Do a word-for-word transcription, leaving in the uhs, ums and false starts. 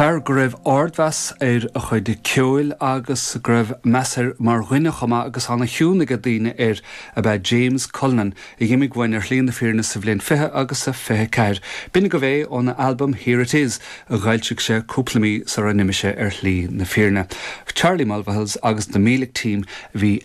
Fear go raibh ardmheas ar a chuid ceoil agus go raibh meas air mar dhuine chomh maith agus an-chion ag daoine air ab ea James Cullinan a d'imigh uainn ar shlí na fírinne sa bhliain fiche agus a fiche ceathair. B'in agaibh é óna albam Here It Is a d'fhoilsigh sé cúpla mí sara n-imigh sé ar shlí na fírinne. Charlie Mulvihills agus the Meelick Team bhí